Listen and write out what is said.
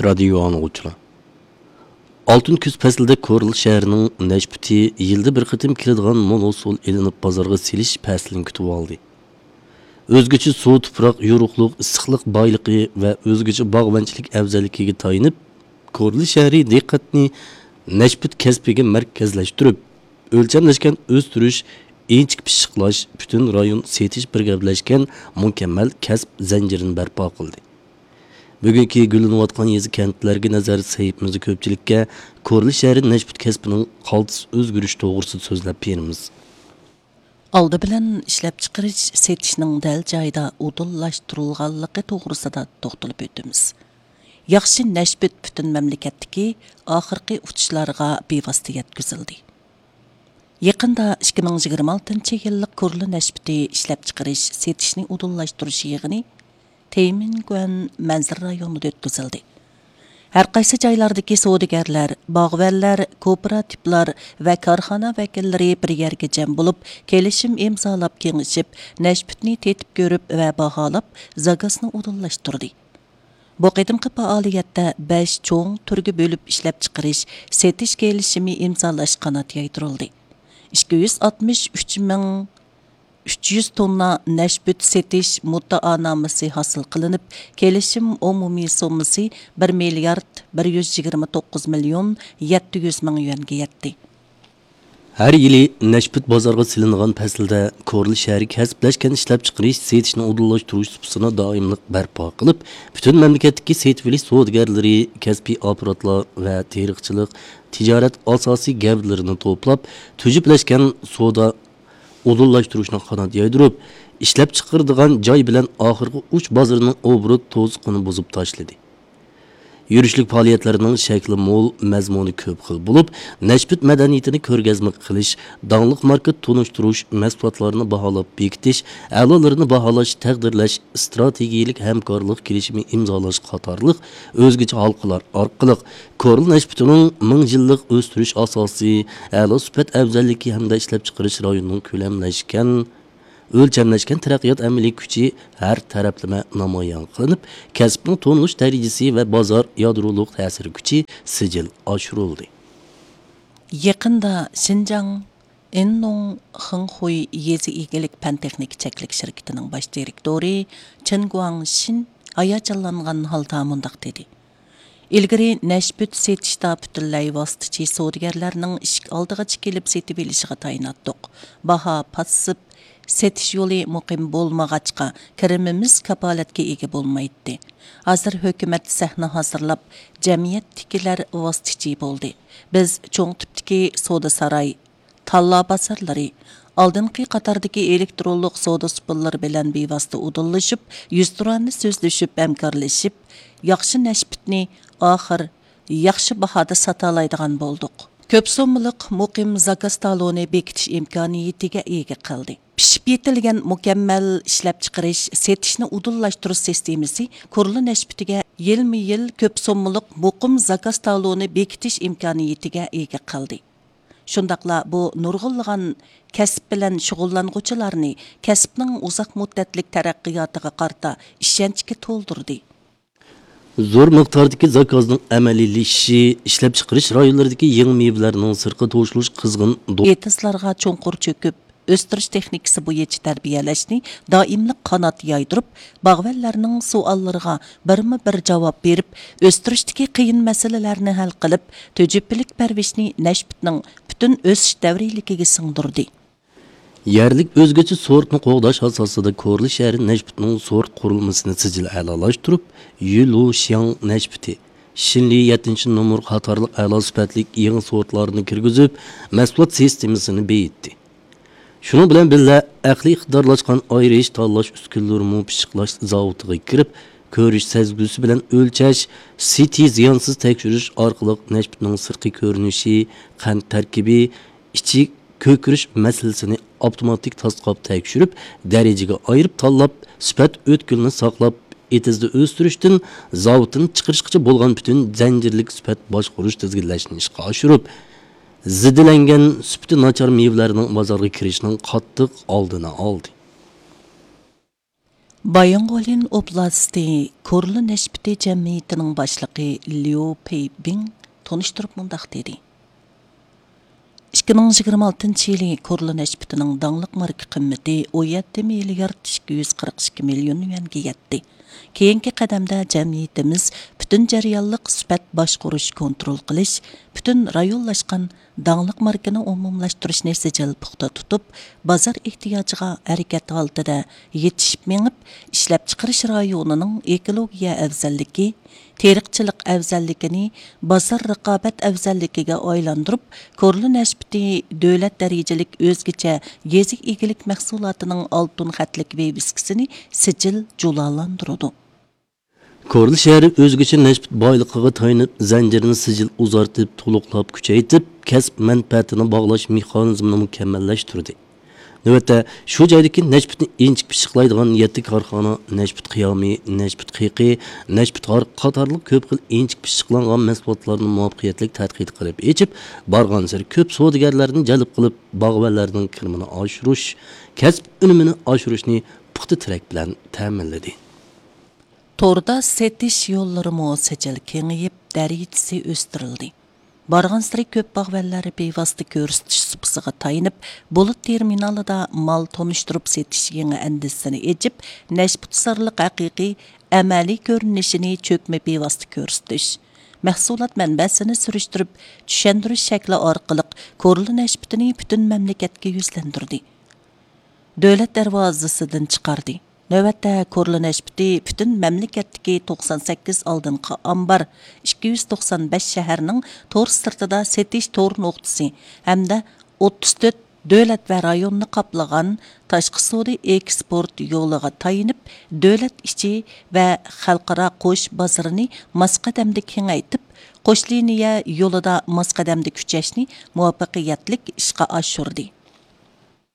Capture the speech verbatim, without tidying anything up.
رادىيو ئاڭلىغۇچىلار، ئالتۇن كۈز پەسلىدە كورلا شەھىرىنىڭ نەشپۈتى يىلدا بىر قېتىم كېلىدىغان مول ھوسۇل ئېلىنىپ بازارغا سېلىش پەسلىنى كۈتۈۋالدى. ئۆزگىچە سۇ، تۇپراق، يورۇقلۇق، ئىسسىقلىق بايلىقى ۋە ئۆزگىچە باغۋەنچىلىك ئەۋزەللىكىگە تايىنىپ، كورلا شەھىرى دىققەتنى نەشپۈت كەسپىگە مەركەزلەشتۈرۈپ، ئۆلچەملەشكەن ئۆستۈرۈش، ئىنچىكە پىششىقلاش، پۈتۈن رايون سېتىش بىر گەپلەشكەن مۇكەممەل كەسىپ زەنجىرىنى بەرپا قىلدى. بۈگۈنكى گۈللىنىۋاتقان يېزا، كەنتلەرگە نەزەر سەھىپىمىزدە كۆپچىلىككە كورلا شەھىرى نەشپۈت كەسپىنىڭ قالتىس ئۆزگىرىشى توغرىسىدا سۆزلەپ بېرىمىز. ئالدى بىلەن ئىشلەپچىقىرىش، سېتىشنىڭ دەل جايىدا ئۇدۇللاشتۇرۇلغانلىقى توغرىسىدا توختىلىپ ئۆتىمىز. ياخشى نەشپۈت پۈتۈن مەملىكەتتىكى ئاخىرقى ئۇچۇشلارغا بىۋاسىتە يەتكۈزۈلدى. يېقىندا ئىككى مىڭ يىگىرمە ئالتىنچى يىللىق كورلا نەشپۈتى ئىشلەپچىقىرىش، سېتىشنى ئۇدۇللاشتۇرۇش يىغىنى تيەنئەنمېن مەنزىرە رايونىدا ئۆتكۈزۈلدى. ھەر قايسى جايلاردىكى سودىگەرلەر، باغۋەنلەر، كوپىراتىپلار ۋە كارخانا ۋەكىللىرى بىر يەرگە جەم بولۇپ، كېلىشىم ئىمزالاپ كېڭىشىپ، نەشپۈتنى تېتىپ كۆرۈپ ۋە باھالاپ، زاكازنى ئۇدۇللاشتۇردى. بۇ قېتىمقى پائالىيەتتە بەش چوڭ تۈرگە بۆلۈپ ئىشلەپچىقىرىش، سېتىش كېلىشىمى ئىمزالاش قانات يايدۇرۇلدى. ئىككى يۈز ئاتمىش ئۈچ مىڭ ئۈچ يۈز توننا نەشپۈت سېتىش مۇددىئانامىسى ھاسىل قىلىنىپ، كېلىشىم ئومۇمىي سوممىسى بىر مىليارد بىر يۈز يىگىرمە توققۇز مىليون يەتتە يۈز مىڭ يۈەنگە يەتتى. ھەر يىلى نەشپۈت بازارغا سېلىنغان پەسىلدە كورلا شەھىرى كەسىپلەشكەن ئىشلەپچىقىرىش، سېتىشنى ئۇدۇللاشتۇرۇش سۇپىسىنى دائىملىق بەرپا قىلىپ، پۈتۈن مەملىكەتتىكى سېتىۋېلىش سودىگەرلىرى، كەسپىي ئاپپاراتلار ۋە تېرىقچىلىق، تىجارەت ئاساسىي گەۋدىلىرىنى توپلاپ، تۈجۈپلەشكەن سودا ئۇدۇللاشتۇرۇشنى قانات يايدۇرۇپ، ئىشلەپچىقىرىدىغان جاي بىلەن ئاخىرقى ئۇچ بازىرىنىڭ ئوبوروت توسۇقىنى بۇزۇپ تاشلىدى. يۈرۈشلۈك پائالىيەتلەرنىڭ شەكلى مول، مەزمۇنى كۆپ خىل بولۇپ، نەشپۈت مەدەنىيىتىنى كۆرگەزمە قىلىش، داڭلىق ماركا تونۇشتۇرۇش، مەھسۇلاتلارنى باھالاپ بېكىتىش، ئەلالىرىنى باھالاش، تەقدىرلەش، ئىستراتېگىيەلىك ھەمكارلىق كېلىشىمى ئىمزالاش قاتارلىق ئۆزگىچە ھالقىلار ئارقىلىق كورلا نەشپۈتىنىڭ مىڭ يىللىق ئۆستۈرۈش ئاساسى، ئەلا سۈپەت ئەۋزەللىكى ھەمدە ئىشلەپچىقىرىش رايونىنىڭ كۆلەملەشكەن، ئۆلچەملەشكەن تەرەققىيات ئەمەلىي كۈچى ھەر تەرەپلىمە نامايان قىلىنىپ، كەسىپنىڭ تونۇلۇش دەرىجىسى ۋە بازار يادرولۇق تەسىر كۈچى سىجىل ئاشۇرۇلدى. يېقىندا شىنجاڭ ئىننوڭ خېڭخۇي يېزا ئىگىلىك پەن تېخنىكا چەكلىك شىركىتىنىڭ باش دىرېكتورى چېن گۇاڭشىن ھاياجانلانغان ھالدا مۇنداق دېدى: ئىلگىرى نەشپۈت سېتىشتا پۈتۈنلەي ۋاسىتىچى سودىگەرلەرنىڭ ئىشىك ئالدىغىچە كېلىپ سېتىۋېلىشىغا تايىناتتۇق. باھا پاسسىپ، سېتىش يولى مۇقىم بولمىغاچقا، كىرىمىمىز كاپالەتكە ئىگە بولمايتتى. ھازىر ھۆكۈمەت سەھنە ھازىرلاپ، جەمئىيەتتىكىلەر ۋاسىتىچى بولدى. بىز چوڭ تىپتىكى سودا ساراي، تاللا بازارلىرى، ئالدىنقى قاتاردىكى ئېلېكترونلۇق سودا سۇپىلىرى بىلەن بىۋاسىتە ئۇدۇللىشىپ، يۈزتۇرانە سۆزلىشىپ، ھەمكارلىشىپ، ياخشى نەشپۈتنى ئاخىر ياخشى باھادا ساتالايدىغان بولدۇق. كۆپ سوممىلىق مۇقىم زاكاز تالونى بېكىتىش ئىمكانىيىتىگە ئىگە قىلدى. پىشىپ يېتىلگەن مۇكەممەل ئىشلەپچىقىرىش، سېتىشنى ئۇدۇللاشتۇرۇش سىستېمىسى كورلا نەشپۈتىگە يىلمۇ يىل كۆپ سوممىلىق مۇقىم زاكاز تالونى بېكىتىش ئىمكانىيىتىگە ئىگە قىلدى. شۇنداقلا بۇ نۇرغۇنلىغان كەسىپ بىلەن شۇغۇللانغۇچىلارنى كەسىپنىڭ ئۇزاق مۇددەتلىك تەرەققىياتىغا قارىتا ئىشەنچكە تولدۇردى. زور مىقداردىكى زاكازنىڭ ئەمەلىيلىشىشى ئىشلەپچىقىرىش رايونلىرىدىكى يېڭى مېۋىلەرنىڭ سىرتقا توشۇلۇش قىزغىن دو- ئېتىزلارغا چوڭقۇر چۆكۈپ، ئۆستۈرۈش تېخنىكىسى بويىچە تەربىيەلەشنى دائىملىق قانات يايدۇرۇپ، باغۋەنلەرنىڭ سوئاللىرىغا بىرمۇ بىر جاۋاب بېرىپ، ئۆستۈرۈشتىكى قىيىن مەسىلىلەرنى ھەل قىلىپ، تۈجۈپىلىك پەرۋىشنى نەشپۈتنىڭ پۈتۈن ئۆسۈش دەۋرىيلىكىگە سىڭدۈردى. يەرلىك ئۆزگىچە سورتنى قوغداش ئاساسىدا كورلا شەھىرى نەشپۈتنىڭ سورت قۇرۇلمىسىنى سىجىل ئەلالاشتۇرۇپ، يۈلۇشياڭ نەشپۈتى، شىنلى يەتتىنچى نومۇر قاتارلىق ئەلا سۈپەتلىك يېڭى سورتلارنى كىرگۈزۈپ، مەھسۇلات سىستېمىسىنى بېيىتتى. شۇنىڭ بىلەن بىللە، ئەقلىي ئىقتىدارلاشقان ئايرىش، تاللاش ئۈسكۈنىلىرىمۇ پىششىقلاش زاۋۇتىغا كىرىپ، كۆرۈش سەزگۈسى بىلەن ئۆلچەش، سىتى زىيانسىز تەكشۈرۈش ئارقىلىق نەشپۈتنىڭ سىرتقى كۆرۈنۈشى، قەنت تەركىبى، ئىچى كۆكىرىش مەسىلىسىنى ئاپتوماتىك تاسقاپ تەكشۈرۈپ، دەرىجىگە ئايرىپ تاللاپ، سۈپەت ئۆتكىلىنى ساقلاپ، ئېتىزدا ئۆستۈرۈشتىن زاۋۇتتىن چىقىرىشقىچە بولغان پۈتۈن زەنجىرلىك سۈپەت باشقۇرۇش تىزگىنلەشنى ئىشقا ئاشۇرۇپ، زېدىلەنگەن، سۈپىتى ناچار مېۋىلەرنىڭ بازارغا كىرىشىنىڭ قاتتىق ئالدىنى ئالدى. بايىنغولىن ئوبلاستى كورلا نەشپۈتى جەمئىيىتىنىڭ باشلىقى ليۇ پېيبىڭ تونۇشتۇرۇپ مۇنداق دېدى: ئىككى مىڭ يىگىرمە ئالتىنچى يىلى كورلا نەشپۈتىنىڭ داڭلىق ماركا قىممىتى ئون يەتتە مىليارد ئىككى يۈز قىرىق ئىككى مىليون يۈەنگە يەتتى. كېيىنكى قەدەمدە جەمئىيىتىمىز پۈتۈن جەريانلىق سۈپەت باشقۇرۇش، كونترول قىلىش، پۈتۈن رايونلاشقان داڭلىق ماركىنى ئومۇملاشتۇرۇشنى سىجىل پۇختا تۇتۇپ، بازار ئېھتىياجىغا ھەرىكەت ھالىتىدە يېتىشىپ مېڭىپ، ئىشلەپچىقىرىش رايونىنىڭ ئېكولوگىيە ئەۋزەللىكى، تېرىقچىلىق ئەۋزەللىكىنى بازار رىقابەت ئەۋزەللىكىگە ئايلاندۇرۇپ، كورلا نەشپۈتى دۆلەت دەرىجىلىك ئۆزگىچە يېزا ئىگىلىك مەھسۇلاتىنىڭ ئالتۇن خەتلىك ۋىۋىسكىسىنى سىجىل جۇلالاندۇرىدۇ. كورلا شەھىرى ئۆزگىچە نەشپۈت بايلىقىغا تايىنىپ، زەنجىرىنى سىجىل ئۇزارتىپ، تولۇقلاپ، كۈچەيتىپ، كەسىپ مەنپەئەتىنى باغلاش مېخانىزمىنى مۇكەممەللەشتۈردى. نۆۋەتتە، شۇ جايدىكى نەشپۈتنى ئىنچىكە پىششىقلايدىغان يەتتە كارخانا نەشپۈت قىيامى، نەشپۈت قېقى، نەشپۈت ھارىقى قاتارلىق كۆپ خىل ئىنچىكە پىششىقلانغان مەھسۇلاتلارنى مۇۋەپپەقىيەتلىك تەتقىق قىلىپ ئېچىپ، بارغانسېرى كۆپ سودىگەرلەرنى جەلپ قىلىپ، باغۋەنلەرنىڭ كىرىمىنى ئاشۇرۇش، كەسىپ ئۈنۈمىنى ئاشۇرۇشنى پۇختا تىرەك بىلەن تەمىنلىدى. توردا سېتىش يوللىرىمۇ سىجىل كېڭىيىپ، دەرىجىسى ئۆستۈرۈلدى. بارغانسېرى كۆپ باغۋەنلەر بىۋاسىتە كۆرسىتىش سۇپىسىغا تايىنىپ، بۇلۇت تېرمىنالىدا مال تونۇشتۇرۇپ سېتىش يېڭى ئەندىزىسىنى ئېچىپ، نەشپۈت سارلىق ھەقىقىي ئەمەلىي كۆرۈنۈشىنى چۆكمە بىۋاسىتە كۆرسىتىش، مەھسۇلات مەنبەسىنى سۈرۈشتۈرۈپ چۈشەندۈرۈش شەكلى ئارقىلىق كورلا نەشپۈتىنى پۈتۈن مەملىكەتكە يۈزلەندۈردى. دۆلەت دەرۋازىسىدىن چىقاردى. نۆۋەتتە كورلا نەشپۈتى پۈتۈن مەملىكەتتىكى توقسان سەككىز ئالدىنقى ئامبار، ئىككى يۈز توقسان بەش شەھەرنىڭ تور سىرتىدا سېتىش تور نۇقتىسى ھەمدە ئوتتۇز تۆت دۆلەت ۋە رايوننى قاپلىغان تاشقى سودا ئېكسپورت يولىغا تايىنىپ، دۆلەت ئىچى ۋە خەلقئارا قوش بازىرىنى ماس قەدەمدە كېڭەيتىپ، قوش لىنىيە يولىدا ماس قەدەمدە كۈچەشنى مۇۋەپپەقىيەتلىك ئىشقا ئاشۇردى.